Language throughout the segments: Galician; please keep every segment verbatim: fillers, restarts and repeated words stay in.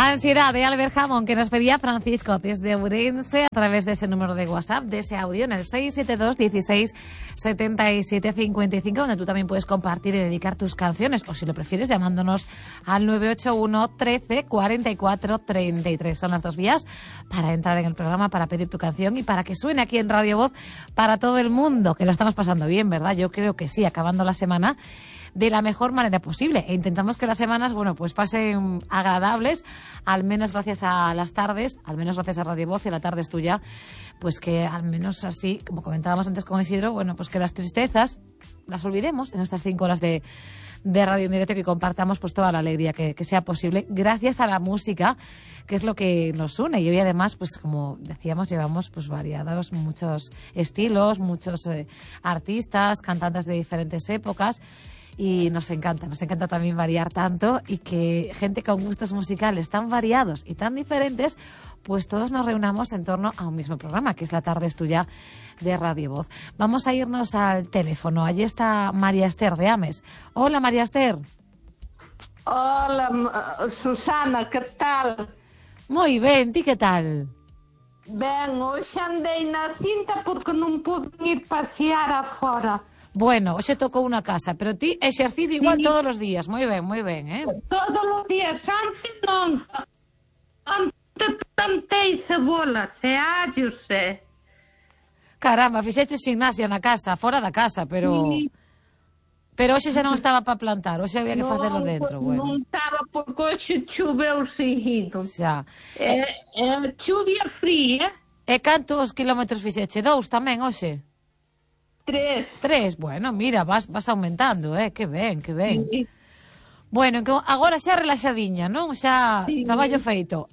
Ansiedad de Albert Hammond, que nos pedía Francisco desde Ourense a través de ese número de WhatsApp, de ese audio en el seis siete dos, dieciséis, setenta y siete, cincuenta y cinco, donde tú también puedes compartir y dedicar tus canciones, o si lo prefieres, llamándonos al nueve ocho uno, trece, cuarenta y cuatro, treinta y tres. Son las dos vías para entrar en el programa, para pedir tu canción y para que suene aquí en Radio Voz para todo el mundo, que lo estamos pasando bien, ¿verdad? Yo creo que sí, acabando la semana de la mejor manera posible, e intentamos que las semanas, bueno, pues pasen agradables, al menos gracias a las tardes, al menos gracias a Radio Voz, y la tarde es tuya, pues que al menos así, como comentábamos antes con Isidro, bueno, pues que las tristezas las olvidemos en estas cinco horas de, de radio en directo, que compartamos pues toda la alegría que, que sea posible, gracias a la música, que es lo que nos une. Y hoy además, pues como decíamos, llevamos pues variados muchos estilos, muchos eh, artistas, cantantes de diferentes épocas. Y nos encanta, nos encanta también variar tanto, y que gente con gustos musicales tan variados y tan diferentes, pues todos nos reunamos en torno a un mismo programa, que es La Tarde es Tuya de Radio Voz. Vamos a irnos al teléfono. Allí está María Esther de Ames. Hola, María Esther. Hola, Susana, que tal? Moi ben, ti que tal? Ben, hoxe andei na cinta porque non pude ir pasear afora. Bueno, hoxe tocou unha casa, pero ti exercicio igual sí. Todos os días. Moi ben, moi ben, eh? Todos os días, antes non. Antes plantei cebolas e allos, eh. Caramba, fixeches gimnasia na casa, fora da casa, pero... Sí. Pero hoxe xa non estaba para plantar, hoxe había que no, facelo dentro, bueno. Non estaba porque hoxe choveu seguido. Xa. E, e chuvia fría. E cantos kilómetros fixeche? Dous tamén hoxe? Tres. Tres, bueno, mira, vas, vas aumentando, eh, que ben, que ben. Sí. Bueno, agora xa relaxadiña, non? Xa sí. Traballo feito.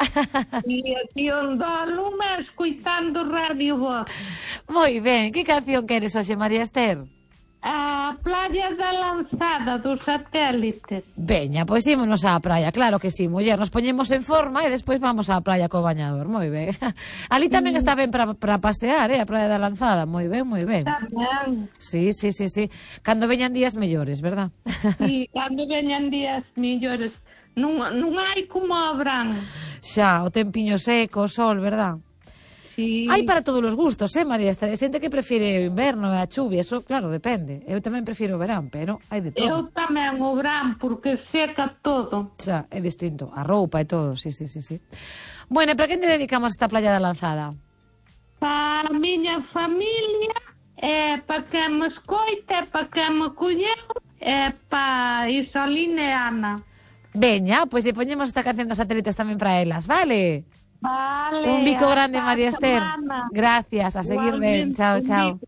E aquí ando a lume escoitando Radio Voz. Moi ben, que canción queres hoxe, María Esther? A Playa da Lanzada, dos Satélites. Veña, pois ímonos á praia, claro que sí, muller, nos poñemos en forma e despois vamos á praia co bañador, moi ben. Ali tamén sí. Está ben para pasear, eh, a Praia da Lanzada, moi ben, moi ben. Está ben. Sí, sí, sí, sí. Cando veñan días mellores, verdad? Sí, cando veñan días mellores. Non, non hai como o verán. Xa, o tempiño seco, o sol, verdad? Sí. Hai para todos os gustos, eh, María Esther? Xente que prefire o inverno e a chuvia, eso, claro, depende. Eu tamén prefiro o verán, pero hai de todo. Eu tamén o verán, porque seca todo. Xa, é distinto. A roupa e todo, sí, sí, sí, sí. Bueno, e para quen te dedicamos esta Playa da Lanzada? Para a miña familia, e para que me escoita, e para que me colleu, e para Isolina e Ana. Veña, pois pues, poñemos esta canción dos Satélites tamén para elas, vale? Vale. Un bico grande, María Esther. Semana. Gracias, a seguir ben. Chao, chao.